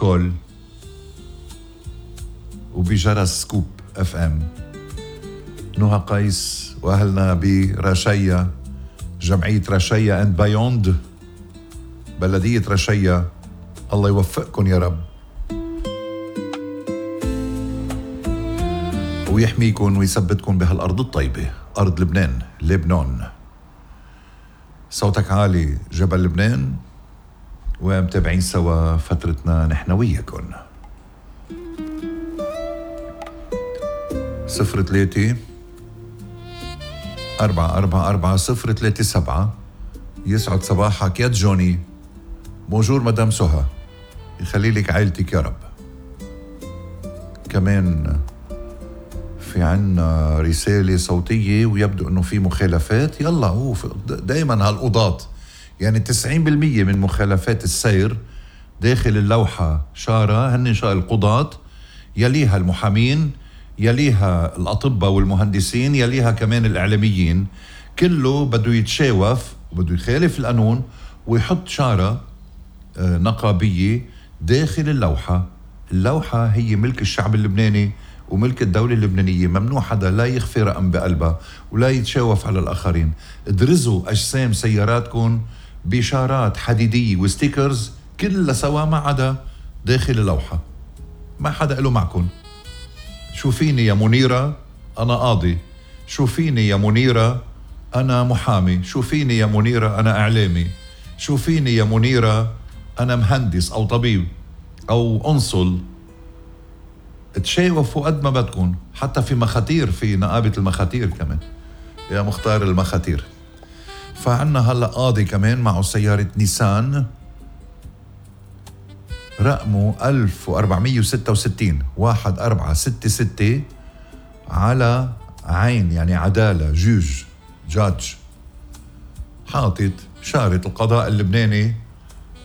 كول وبجرس سكوب اف ام. نهى قيس واهلنا برشيا، جمعية رشيا اند بايوند، بلدية رشيا، الله يوفقكم يا رب ويحميكم ويثبتكم بهالأرض الطيبة، أرض لبنان. صوتك عالي جبل لبنان، ومتابعين سوا فترتنا نحن وياكم. 03 444 037. يسعد صباحك يا جوني. بونجور مدام سهى، يخلي لك عائلتك يا رب. كمان في عنا رسالة صوتية ويبدو انه في مخالفات. يلا دايما هالقضاة يعني 90% من مخالفات السير داخل اللوحة شارة هن القضاة، يليها المحامين، يليها الأطباء والمهندسين، يليها كمان الإعلاميين. كله بده يتشاوف وبده يخالف القانون ويحط شارة نقابية داخل اللوحة. اللوحة هي ملك الشعب اللبناني وملك الدولة اللبنانية، ممنوع حدا لا يخفي رقم بقلبها ولا يتشاوف على الآخرين. ادرزوا أجسام سياراتكم بشارات حديدية وستيكرز كلها سوا ما عدا داخل اللوحة، ما حدا له معكم. شوفيني يا منيرة أنا قاضي، شوفيني يا منيرة أنا محامي، شوفيني يا منيرة أنا إعلامي، شوفيني يا منيرة أنا مهندس أو طبيب أو أنصل. تشاوفوا قد ما بدكم، حتى في مخاتير، في نقابة المخاتير كمان يا مختار المخاتير. فعنا هلأ قاضي كمان معه سيارة نيسان رقمه 1466 1466 على عين يعني عدالة جاج حاطط شارة القضاء اللبناني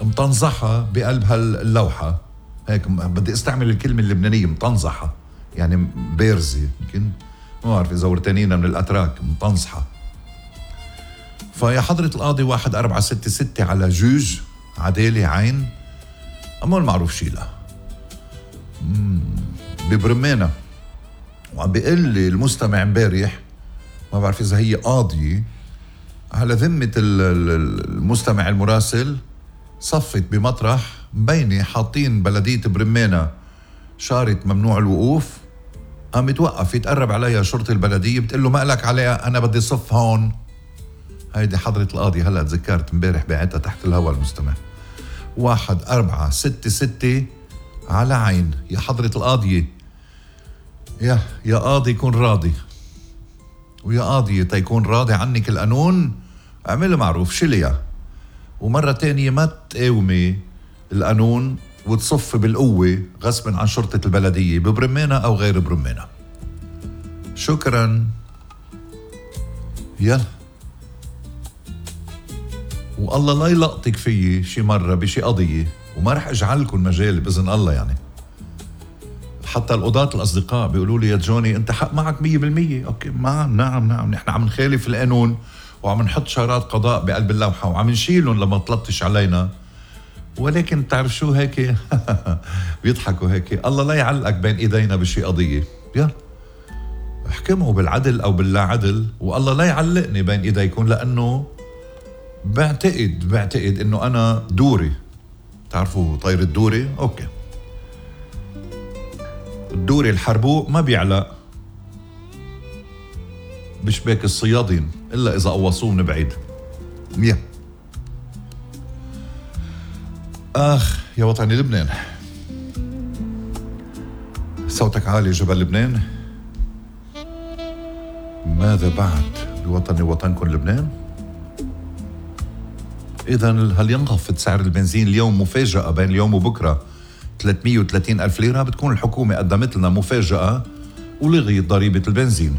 مطنزحة بقلب هاللوحة. هيك بدي استعمل الكلمة اللبنانية مطنزحة، يعني بارزة، يمكن ما بعرف إذا ورتانينا من الأتراك، مطنزحة. فيا حضرة القاضي 1466 على جوج عدالة عين أمول معروف شيلة ببرمانة. وعم بيقول لي المستمع امبارح، ما بعرف إذا هي قاضية، على ذمة المستمع المراسل صفت بمطرح مبينة حاطين بلدية برمانة شارة ممنوع الوقوف. قام يتوقف يتقرب عليها شرطة البلدية بتقول له ما لك عليها، أنا بدي صف هون. هيدي حضرة القاضي هلأ تذكرت امبارح بعتها تحت الهواء المستمع. 1466 على عين. يا حضرة القاضية، يا قاضي كون راضي، ويا قاضية تيكون راضي عنك القانون اعمل معروف شليا. ومرة تانية ما تقاومي القانون وتصف بالقوة غصبا عن شرطة البلدية ببرمانة أو غير برمانة. شكرا. والله لا يلقطك فيي شي مرة بشي قضية، وما رح اجعلكم مجال بإذن الله. يعني حتى القضاة الأصدقاء بيقولوا لي يا جوني أنت حق معك 100%. أوكي نعم نحن عم نخالف القانون وعم نحط شارات قضاء بقلب اللوحة وعم نشيلهم لما تلطش علينا، ولكن تعرف شو هيك بيضحكوا هيك. الله لا يعلقك بين إيدينا بشي قضية، احكموا بالعدل أو باللا عدل، والله لا يعلقني بين إيديكم، لأنه بعتقد إنه أنا دوري. تعرفوا طير الدوري؟ أوكي، الدوري الحربوق ما بيعلق بشباك الصيادين إلا إذا قوصوه من بعيد. يا وطني لبنان، صوتك عالي جبل لبنان. ماذا بعد بوطني وطنكم لبنان؟ إذن هل ينخفض سعر البنزين اليوم مفاجأة بين اليوم وبكرة 330 ألف ليرة؟ بتكون الحكومة قدمت لنا مفاجأة ولغيت ضريبة البنزين.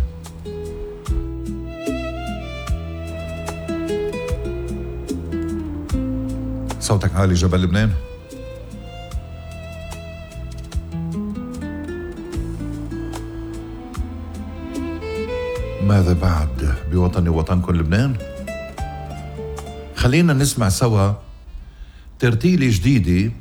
صوتك عالي جبل لبنان. ماذا بعد بوطني وطنكم لبنان؟ خلينا نسمع سوا ترتيلة جديدة